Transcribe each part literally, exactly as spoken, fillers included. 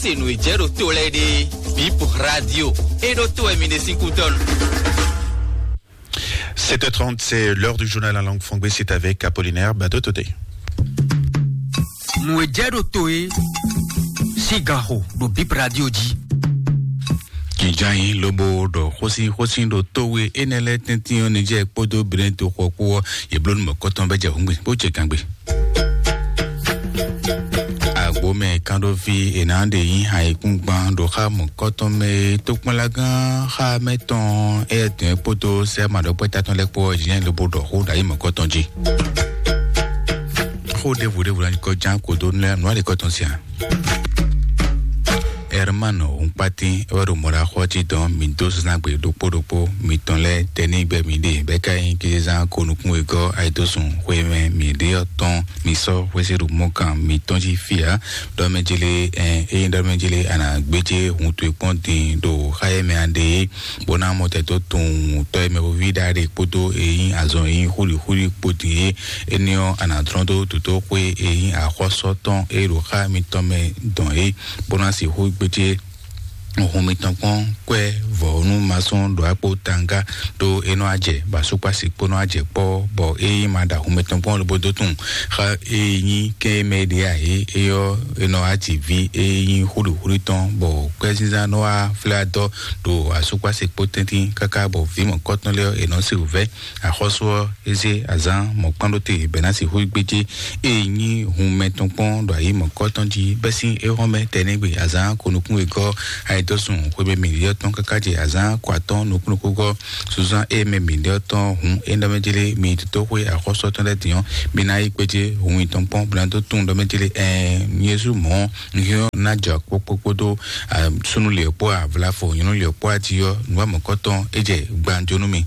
Se nǔ e jɛ ɖo to lɛ́ɛ ɖe, Bip Radio, e ɖo to wɛ mi ɖe sín kútɔ́nu. Sept heures trente, c'est l'heure du journal en langue franglais. C'est avec Apollinaire Badotote. Nǔ e jɛ ɖo to e sín gan xo ɖo Bip Radio jí. Jǐjǎnyi lobo ɖɔ xósín xósín ɖo tówe énɛ́ lɛ́ɛ tɛ́ntin ɔ́, Nijɛ́ɛ kpódó Benɛ́ɛ toxo ɔ́ kpó ɔ́, yě bló nú mɔ̌kɔtɔn bɛ́ jɛ hǔngbe bó ce gangbé. Agbǒmɛ kánɖóví è nǎ ɖe nyí ayǐkúngban ɖo xá mɔ̌kɔtɔn mɛ e tokpɔnlágán xá mɛ tɔn éyɛ́ dɔn é kpódó sɛ́ maɖɔkpɛ́ta tɔn lɛ́ɛ kpó ɔ́, Jǐjǎnyi lobo ɖɔ xó ɖo ayǐ mɔ̌kɔtɔn jí. Xó ɖěvo ɖěvo ná nyí kɔ ján kó dó nú nǔ aɖěkɔ tɔn sian. Herman Hunkpatin é wɛ ɖo mɔ̌ɖaxɔ jí dɔn mǐ dó zazán gbe ɖokpó ɖokpó mitɔn lɛ́ɛ tɛnígbɛ mǐ ɖe bɛ́ ká nyí kézezán ko nukún wegɔ́ ayidósun xwe mɛ mǐ ɖe ɔ́ tɔn mǐ sɔ́ xwésíɖu mɔ́kan mǐtɔn jí fí ǎ. Ɖɔmɛjele ɛ ényí ɖɔmɛjele a nǎ gbéjé hun towe kpɔ́n din ɖo xá e mɛ a ɖe é, bó ná mɔ tɛ́ dó tunwun tɔ́ e mɛ xóví ɖaɖe kpódó e nyí azɔn e nyí xúlixúli kpó din é. Énɛ́ ɔ́, a nǎ dlɔ́n dó dǒdóxwé e nyí axɔ́sú tɔn e ɖo xá mitɔn mɛ dɔn é, bó ná sixú gbéjé hun mitɔn kpɔ́n kwɛ́ vɔ̌nu masɔn ɖo akpó tanga ɖó é nɔ ajɛ bɔ asúkpási kpó nɔ ajɛ kpɔ́, bɔ é nyí ma ɖo hun mitɔn kpɔ́n lobo dó tunwun xá e nyí kɛ́n e mɛ ɖe ǎ é, é ɔ́, é nɔ wá ji ví e nyí xúɖixúɖi tɔn, bɔ kwɛ́zínzán nɔ wá flɛ́ adɔ ɖo asúkpási kpó tɛ́ntin káká bɔ vǐ mɔ̌kɔtɔn lɛ́ɛ ɔ́, è nɔ se wǔvɛ́. Axɔ́sú ɔ́, é zé azǎn mɔ̌kpánɖóte bɛ̌ ná sixú gbéjé e nyí hun mɛ tɔn kpɔ́n ɖo ayǐ mɔ̌kɔ́tɔn jí bɛ́ sín éhɔ́mɛ tɛnɛ́gbe azǎn ko nukún wegɔ́ ayidɔ́sun xwebɛ́mɛ yɔ́ tɔn káká jɛ azǎn ko atɔ́ɔ́n nukún nukúngɔ́ sunzán e mɛ mǐ ɖe ɔ́ tɔn hǔn é ɖɔ mɛ jlé mi dódó xwé axɔ́sú ɔ́ tɔn lɛ́ɛ din ɔ́, mi ná yi gbéjé hun mitɔn kpɔ́n bó ná dó tunwun ɖɔ mɛ jlé ɛɛ Jezu mɔ̌ un hyɔ́n ná jɔ kpókpó kpódó súnnu lě kpó avlafo nyɔ̌nu lě kpó aji ɔ́ nǔ wa mɔ̌kɔ́tɔn é jɛ gbanjo nú mi.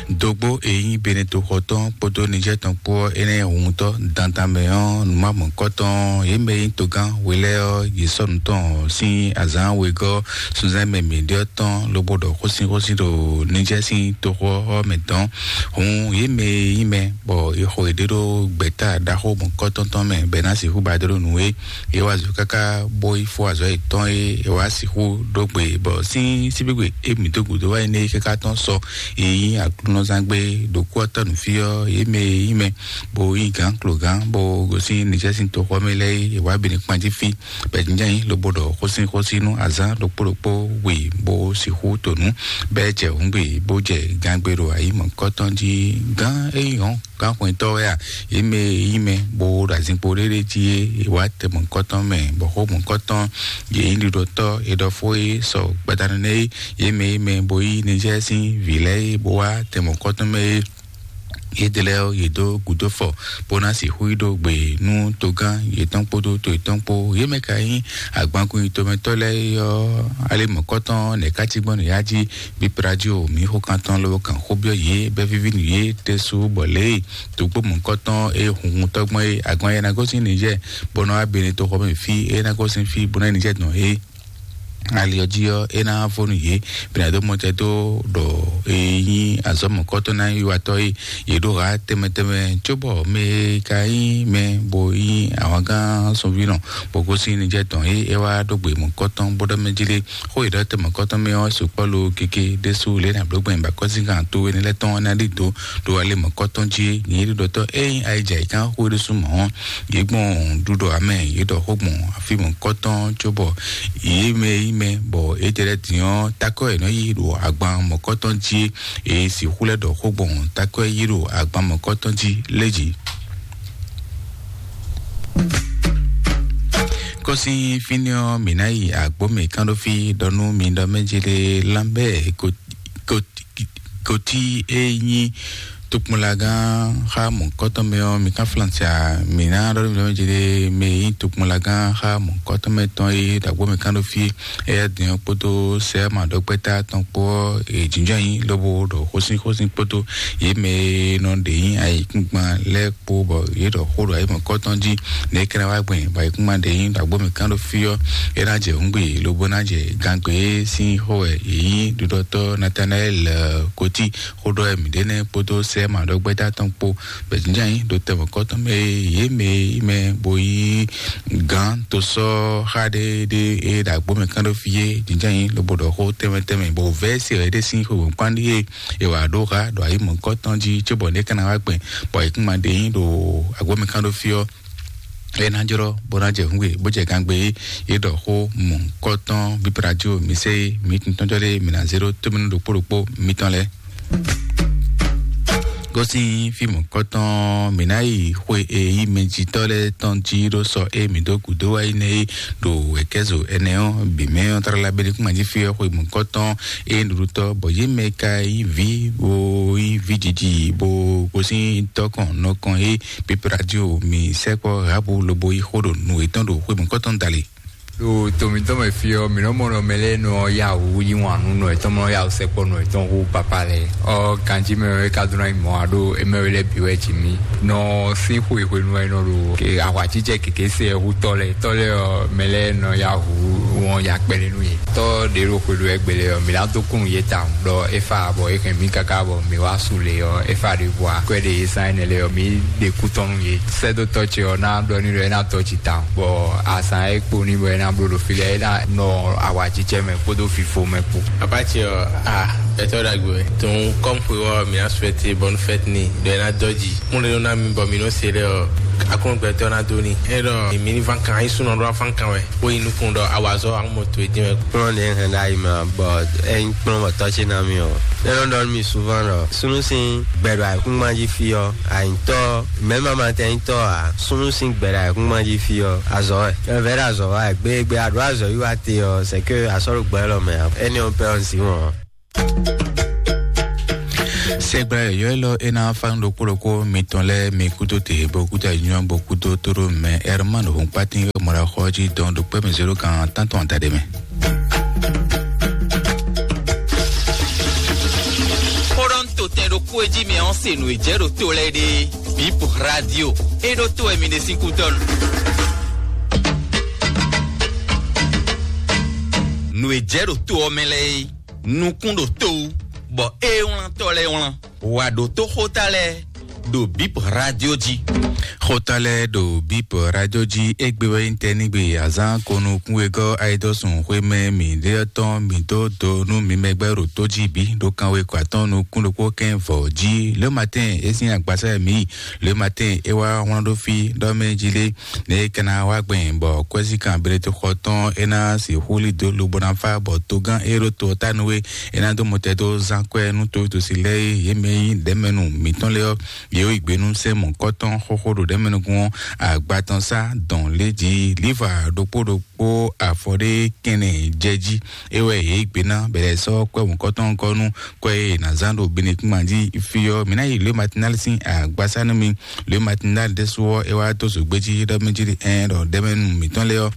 Dogbo e nyí Benetoxɔ tɔn kpódó Nijɛ́ɛ tɔn kpó ɔ́, énɛ́ huntɔ́ dandan mɛ ɔ́, nǔmamɔ̌kɔ́tɔn yě mɛ e nyí togán we lɛ́ɛ ɔ́, yě sɔ́ nǔ tɔn sín azǎn wegɔ́ sunzán mɛ mǐɖé ɔ́ tɔn, lobo ɖɔ xósínxósín ɖo Nijɛ́ɛ sín toxo ɔ́ mɛ dɔn. Hǔn yě mɛ e nyí mɛ bɔ è xo yěɖée ɖó gbɛ̌ta ɖaxó mɔ̌kɔ́tɔn tɔn mɛ bɔ è ná sixú ba dó ɖó nǔ é, yě wa azɔ̌ káká bó yi fó azɔ̌ yětɔn e è wá sixú ɖó gbe bɔ sín síbígbe e mǐ dó gǔdo wá yi nɛ́ é káká tɔn sɔ e nyí aklúnɔzán gbé ɖokpó ɔ́ tɔ́ nǔ fí ɔ́, yě mɛ e nyí mɛ bó nyí gǎn klogǎn bó gosín Nijɛ́ɛ sín toxɔ mɛ lɛ́ɛ é, è wá bǐ ní kpan jí fí. Bɛ̌jínjɛ́n lobo ɖɔ xósínxósín nú azǎn ɖokpó ɖokpó wi bó sixú to nǔ, bɛ́ jɛ hǔngbe bó jɛ gangbe ɖo ayǐ mɔ̌kɔ́tɔn jí. Gǎn e nyí hɔn gǎnxwɛntɔ́ wɛ a? Yě mɛ e nyí mɛ bó ɖo azinkpo ɖéɖé jí é, è wǎ tɛ mɔ̌kɔ́tɔn mɛ, bɔ xó mɔ̌kɔ́tɔn yě nyí ɖiɖɔtɔ́ e ɖɔ fó é sɔ gbadanu nɛ́ é. Yě mɛ e nyí mɛ bó yí Nizɛ́ɛ sín vǐ lɛ́ɛ é, bó wá tɛ mɔ̌kɔ́tɔn mɛ é. Yědɛɛ lɛ́ɛ ɔ́, yě dó gǔdo fɔ, bó ná sixú yi ɖó gbe nú togán yětɔn kpódó to yětɔn kpó. Yě mɛ ka nyí agbankun yitomɛtɔ́ lɛ́ɛ é ɔ́, alé mɔ̌kɔ́tɔn nɛ̌ ká cí gbɔn nǔyá jí? Bipladio mǐ xó kan tɔn lobo kan xó byɔ́ yě bɛ́ víví nǔ yě ɖésú bɔ lě e dǒgbó mɔ̌kɔ́tɔn e hunhun tɔ́gbɔn e agban yɛ ná gosín Nizɛ́ɛ bó nɔ wá bene toxɔ mɛ fí, é ná gosín fí bó ná yi Nizɛ́ɛ dɔn é. Ali ɔ́ jí ɔ́, é ná vɔ nú yě, bɛ́ ná dó mɔ tɛ dó ɖɔ e nyí azɔ̌ mɔ̌kɔ́tɔn ná yi watɔ́ e yě ɖó ha tɛnmɛ tɛnmɛ, cóbɔ mɛ e ka nyí mɛ bó nyí ahwangán sunvínɔ bó gosín Nizɛ́ɛ tɔn é, é wá ɖó gbe mɔ̌kɔ́tɔn bó ɖɔ mɛ jí lé. Xó e ɖɔ tɛnmɛ kɔ́tɔn mɛ ɔ́ sukpɔ́ lo keke ɖésú lě na bló gbɛn bakɔ́síngán to énɛ́ lɛ́ɛ tɔn ná ɖi dó ɖo alé mɔ̌kɔ́tɔn jí. Nyɛ ɖiɖɔtɔ́ ényí ayija yi kán xó ɖésú mɔ̌ ɔ́, yě gbɔn ɖuɖɔ amɛ yě ɖɔ xó gbɔn afí mɔ̌kɔ́tɔn cóbɔ yě mɛ yí mɛ bɔ étɛ́ lɛ́ɛ din ɔ́, takɔ́ è nɔ yí ɖo agban mɔ̌kɔ́tɔn jí. È sixú lɛ́ ɖɔ xó gbɔn takɔ́ yí ɖo agban mɔ̌kɔ́tɔn jí lé jí. Kɔsin fínɛ́ ɔ́, mǐ ná yi agbǒ mǐ kán ɖó fí ɖɔ nú mi ɖɔ mɛ jí ɖe Lambert Gauthier e nyí tokpɔnlagán xá mɔ̌kɔ́tɔn mɛ ɔ́, mi kán Flancia. Mǐ ná ɖɔ nú mi ɖɔ mɛ jí ɖe mɛ e nyí tokpɔnlagán xá mɔ̌kɔ́tɔn mɛ tɔn e ɖo agbǒ mǐ kán ɖó fí. Éyɛ́ din ɔ́ kpódó sɛ́ maɖɔkpɛ́ta tɔn kpó ɔ́, è jǐnjɔ́n nyi lobo ɖɔ xósín xósín kpódó yě mɛ e nɔ ɖe nyi ayǐkúngban lɛ́ɛ kpó bɔ yě ɖɔ xó ɖo ayǐmɔ̌kɔ́tɔn jí. Nɛ̌ é ka ná wá gbɛn bɔ ayǐkúngban ɖe nyi ɖo agbó mǐ kán ɖó fí ɔ́, é ná jɛ hǔngbe lobo ná jɛ gangbe e sín xó wɛ yě nyí ɖuɖɔtɔ́ Natanaɛ́li Kotí xó ɖɔ wɛ mǐ ɖe nɛ́ kpódó kpɛ́ ma ɖɔ gbɛ́dá tɔn kpó, bɛ jínjɛ́n yí ɖo tɛmɔ̌kɔ́tɔn mɛ e yě mɛ yí mɛ bo yí gǎn tosɔ́ xá ɖé ɖé e ɖo agbó mɛ kán ɖó fí é, jínjɛ́n yí lobo ɖɔ xó tɛnmɛ tɛnmɛ, bɔ vɛ̌ se wɛ ɖé sín xwe wěkpán ɖíe è wǎ ɖó xa ɖo ayǐ mɔ̌kɔ́tɔn jí cóbɔ ɖě ká ná wá gbɛn, bɔ è kún ma ɖe yí ɖo agbó mɛ kán ɖó fí ɔ́, é ná jlɔ́ bó ná jɛ hǔnwe bó jɛ gangbe é. Yě ɖɔ xó mɔ̌kɔ́tɔn bíbradio mǐ sɛ é, mǐ tun tɔn jɔ ɖé mǐ ná zé ɖó tómínú ɖokpó ɖokpó mitɔn lɛ́ɛ. Gosín fí mɔ̌kɔ́tɔn mǐ ná yi xwe e yí mɛjitɔ́ lɛ́ɛ tɔn jí ɖó sɔ e mǐ dó gǔdo wá yi nɛ́ é ɖo wɛ̌kɛ́zo ɛnɛ ɔ́ bǐ mɛ ɔ́ tlala Benukúnma jí fí ɔ́ xwe mɔ̌kɔ́tɔn e ɖuɖutɔ́ bɔ yě mɛ ka yí vǐ bó yí vǐ jiji bó gosín tɔ́kɔn nɔkɔn é pípé radio mǐ sɛkpɔ́ Rahabu lobo yí xó ɖo nǔ yětɔn ɖo xwe mɔ̌kɔ́tɔn dali. Ɖo to mǐtɔn mɛ fí ɔ́, mǐ nɔ mɔ nɔ mɛ lɛ́ɛ nɔ yá wǔ yí wǎn nú nɔ yětɔn, mɔ yá wǔ sɛkpɔ́ nɔ yětɔn hú papá lɛ́ɛ. Ɔ́, ganjí mɛ ɔ́, é ka dó ná nyí mɔ̌ ǎ ɖó émɛ́ we lɛ́ɛ bǐ wɛ ji mì. Nɔ sín xwe hwenu wɛ nɔ ɖo ke ahwacícɛ kěké se ɛ hú tɔ́ lɛ́ɛ. Tɔ́ lɛ́ɛ ɔ́, mɛ lɛ́ɛ nɔ yá wǔ wɔn ya kpɛɖé nú yě. Tɔ́ ɖě ɖo xwe ɖo ɛgbɛ lɛ́ɛ ɔ́, mǐ ná dó kún nú yě tawun ɖɔ é fá bɔ é hɛn mǐ káká bɔ mǐ wá su lě ɔ́, é fá ɖě bua kwɛ́ ɖě yě zán énɛ́ lɛ́ɛ ɔ́, mǐ ɖe kú tɔn nú yě. Sɛ́dótɔ́ ce ɔ́ ná ɖɔ n'i ɖɔ é ná tɔ́ jǐ tawun, bɔ azǎn e kpo n'i bɔ é ná bló ɖo fí lɛ́ɛ, é ná nɔ awǎjijɛ mɛ kpódó fifo mɛ kpó. Papa ce ɔ́, a, gbɛtɔ́ ɖagbe wɛ. Donc, comme xwe ɔ́, mǐ ná souhaiter bonne fête n'i, ɖɔ é ná dɔ́ jǐ. Kún ɖe nɔ ná mi bɔ mǐ nɔ se lɛ ɔ́, akɔ́n gbɛtɔ́ ná dó n'i. É ɖɔ mǐ ní ván kan, ayísúnɔ ɖó ván kan wɛ, bó yi nukún ɖɔ awǎzɔ́ amɔto e dín wɛ. Kplɔ́n ɖě hɛn ɖ'ayǐ mɛ ǎ, bɔ é nyí kplɔ́n bɔ tɔ́ ce ná mì ɔ́. É nɔ ɖɔ nú mì souvent ɖɔ súnnu sín gbɛ ɖo ayǐkúngban jí fí ɔ́, ayǐtɔ́, mɛ̌ ma ma tɛn nyí tɔ́ ǎ, súnnu sín gbɛ ɖo ayǐkúngban jí fí ɔ́, azɔ̌ wɛ. Ɛvɛ ɖo azɔ̌ wa wɛ, gbégbé a ɖǒ azɔ̌ yi wá te ɔ́, c'est que a sɔ́ ɖo gbɛ élɔ́ mɛ ǎ. Énɛ́ ɔ́ pɛ́ ɔ́ un zǐn wɔn ǎ. Sɛgbla yɔ̌yɔ́ élɔ́ é ná fá nú ɖokpó ɖokpó mitɔn lɛ́ɛ mi kúdó te bó kúdó anyɔ bó kúdó tóɖó mɛ Ɛrmán Hɔnkpátín wɛ mɔ ɖo axɔ jí dɔn ɖo kpɛ́ mɛ zéro kan tántɔn adaɖé mɛ. Xó ɖɔ un to tɛn ɖokpó e jí mi ɔ́ se nǔ e jɛ ɖo to lɛ́ɛ ɖe. Bip Radio é ɖó to wɛ mi ɖe sín kú dɔn. Nǔ e jɛ ɖo to ɔ́ mɛ lɛ́ɛ é, nukún ɖo to wú, bɔ é wlán tɔ́ lɛ́ɛ wlán. Wà ɖo tó xóta lɛ́ɛ ɖo Bip Radio jí. Xóta lɛ́ɛ ɖo Bip Radio jí, égbé wɛ nyí tɛ́ nígbe azán ko nukún wegɔ́ ayidɔ́sùn xwémɛ mǐɖéyɔ́ tɔn mǐ dó do nú mi mɛgbɛ́ ɖo tó jí bǐ ɖo kanwe kɔ atɔ́ɔ́n nukún ɖokpó kɛ́n vɔ̌ jí. Le matin é sín agbasá e mǐ yi. Le matin é wá wlán ɖó fí ɖɔ mɛ jí lé. Ne é ka ná wá gbɛn bɔ kwɛ́zíkan Beletexɔ tɔn é ná sixú lí dó lobo ná fá bɔ togán e ɖo to ɔ́ ta nú é, é ná dó mɔtɛn dó zán kwɛ́ nú towítɔ́si lɛ́ɛ e yě mɛ nyí ɖɛ̌mɛnu mǐtɔn lɛ́ɛ ɔ́, yě yi gbe nú sɛ́n mɔ̌kɔ́tɔn xóxó ɖo ɖɛ̌mɛnukún ɔ́, agba tɔn sá dɔn lě jí líva ɖokpó ɖokpó afɔ ɖé kɛnɛ jɛ jí. É wɛ yě yi gbe ná bɛlɛ sɔ́ kwɛ́ mɔ̌kɔ́tɔn gɔ́ nú kwɛ́ e è nǎ zán ɖo Benekúnma jí fí ɔ́, mǐ ná yi Le Matinal sín agbasá nú mi. Le Matinal ɖésú ɔ́, é wá dó zǒgbé jí ɖɔ mɛ jí ɖe ɛn ɖɔ ɖɛ̌mɛnu mǐtɔn lɛ́ɛ ɔ́,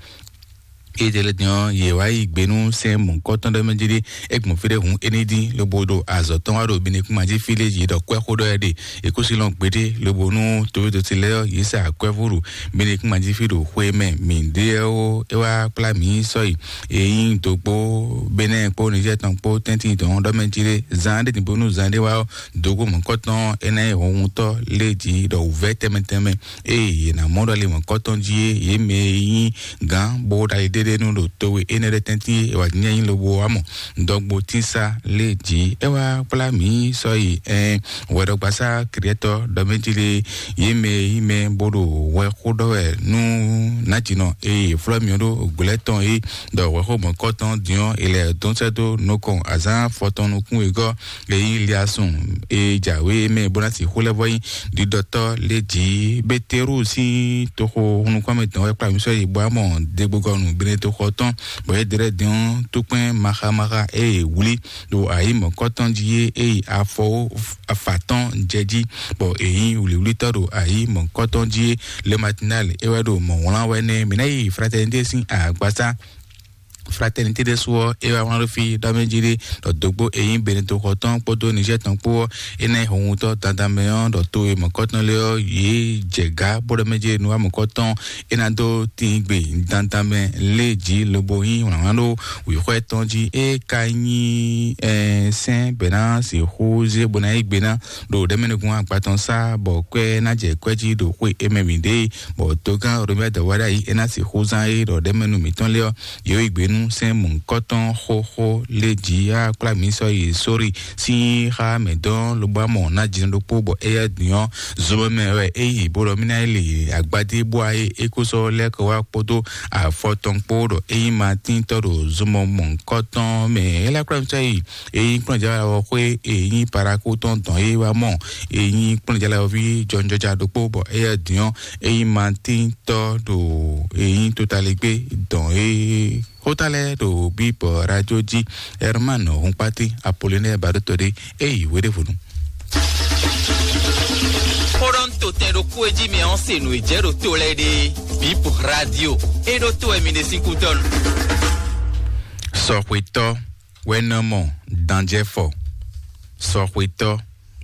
édɛlɛ din ɔ́, yě wá yi gbe nú sɛ́n mɔ̌kɔ́tɔn ɖɔ mɛ jí ɖe é gbɔn fí ɖé hǔn é ní dín lobo ɖo azɔ̌ tɔn wá ɖo Benekúnma jí fí lé yě ɖɔ kwɛ́ xó ɖɔ wɛ ɖe. È kú sí lɔn gbeɖé lobo nú towédoti lɛ́ɛ ɔ́, yě sa kwɛ́ fó ɖo Benekúnma jí fí ɖo xwe mɛ mǐ ɖe ɔ́, é wá kplá mǐ sɔ́ yi. È nyí dǒgbó Benɛ́ɛ kpó Nizɛ́ɛ tɔn kpó tɛ́ntin tɔn ɖɔ mɛ jí ɖe zan ɖé din bónú zan ɖé wá ɔ́, dǒgbó mɔ̌kɔ́tɔn é ná nyí hɔnhuntɔ́ lé jí ɖɔ wǔvɛ́ tɛnmɛ tɛnmɛ. Ée yě ná mɔ ɖɔ le mɔ̌kɔ́tɔn jí é, yě mɛ e nyí gǎn bó ɖo ali ɖéɖé nú ɖo towe énɛ́ ɖɛ́ tɛ́ntin é, è wǎ jínjɔ́n nyí lobo wá mɔ dɔgbo tínsá lé jí. É wá kplá mǐ sɔ́ yi ɛn hwɛɖɔgbasá Kɛlɛtɔ ɖɔ mɛ jí lé, yě mɛ e nyí mɛ bó ɖo hwɛ xó ɖɔ wɛ nú nǎjínɔ e è flɔ́ mì ɔ́ ɖó glɛ̌ tɔn é, ɖɔ hwɛxó mɔ̌kɔ́tɔn din ɔ́, è lɛ dɔn sɛ́ dó nukɔn azǎn afɔtɔn nukún wegɔ́ e nyí Liasun e jǎwe mɛ bó ná sixú lɛ́ vɔ nyí ɖiɖɔtɔ́ lé jǐ. Beteru sín toxo nukúnmɛ tɔn wɛ kplá mǐ sɔ́ yi bɔ amɔ degbogɔnu Benetoxɔ tɔn, bɔ é ɖlɛ́ din ɔ́, tókpɛn maxamaxa e è wlí ɖo ayǐ mɔ̌kɔ́tɔn jí é, é yi afɔ afa tɔn jɛ jí, bɔ è nyí wlǐwlítɔ́ ɖo ayǐ mɔ̌kɔ́tɔn jí é. Le Matinal é wɛ ɖo mɔ̌ wlán wɛ nɛ́. Mǐ ná yi Fraternité sín agbasá Fraternité ɖésú ɔ́, é wá wlán ɖó fí ɖɔ mɛ jí ɖé ɖɔ dǒgbó e nyí Benito xɔ tɔn kpódó Niger tɔn kpó ɔ́, é ná nyí hɔnhutɔ́ dandan mɛ ɔ́, ɖɔ to e mɔ̌kɔtɔn lɛ́ɛ ɔ́, yě jɛ gǎ bó ɖɔ mɛ jí nu wá mɔ̌kɔtɔn, é ná dó tín gbe dandan mɛ lé jí lobo nyí wlǎnwlán ɖó wǐxwɛ́ tɔn jí. É ka nyí sɛ́n bɛ̌ ná sixú zé bó ná yí gbe ná ɖo ɖɛ̌mɛnúgún agba tɔn sá, bɔ kwɛ́ ná jɛ kwɛ́ jí ɖo xwé é mɛ mǐ ɖe, bɔ togán Romuald Wadagni é ná sixú zán é ɖɔ ɖɛ̌mɛnú mǐtɔn lɛ́ɛ ɔ́, yě yi gbe nú sɛ́n mɔ̌hunkɔtɔn xóxó lé jí á kplá mǐ sɔ́ yi sórí sín xá mɛ dɔn lobo amɔ ná jǐnɔ ɖokpó, bɔ éyɛ́ din ɔ́, zomɛ mɛ wɛ é yi bó ɖɔ mí ná yi lě agbadé bó wá é é kó sɔ́ lɛ́ kɔ wá kpódó afɔ tɔn kpó ɖɔ é nyí Matín tɔ́ ɖo zomɔ mɔ̌hunkɔtɔn mɛ. É lɛ́ kplá mǐ sɔ́ yi é nyí kplɔ́njǎ xwé é nyí parakú tɔn dɔn é wá mɔ é nyí kplɔ́njǎ ví jɔnjɔja ɖokpó, bɔ éyɛ́ din ɔ́ é nyí Matín tɔ́ ɖo é nyí totaligbé dɔn é. Xóta lɛ́ɛ ɖo bíbɔ radio jí. Herman Hunkpati, Apollinaire Baɖótɔɖé, é yi hweɖěvonu. Xóɖɔ́ntotɛn ɖokpó e jí mɛ ɔ́ se nǔ e jɛ ɖo to lɛ́ɛ ɖe. Bip radio, é ɖó to wɛ mi ɖe sín kútɔ́nu. Sɔxwetɔ́ wɛ nɔ mɔ danjɛfɔ. Sɔxwetɔ́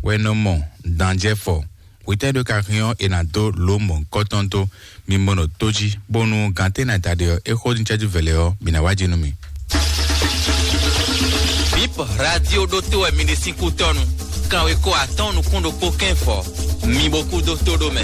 wɛ nɔ mɔ danjɛfɔ. Hwetɛ́ ɖó ka hɛn ɔ́, è nǎ dó lǒ mɔ̌hunkɔtɔn dó. Mi mɔ nɔ tó jí, bónú gǎn tɛ́ ná da ɖe ɔ́, é xó ní cɛ́jú vɛ̌lɛ́ ɔ́, mǐ ná wá jí nú mi. Bip radio ɖótó wɛ mi ɖe sín kútɔ́nu. Kanwekó atɔ́ɔ́n nukún ɖokpó kɛ́n fɔ. Mi bo kú dó tó ɖó mɛ.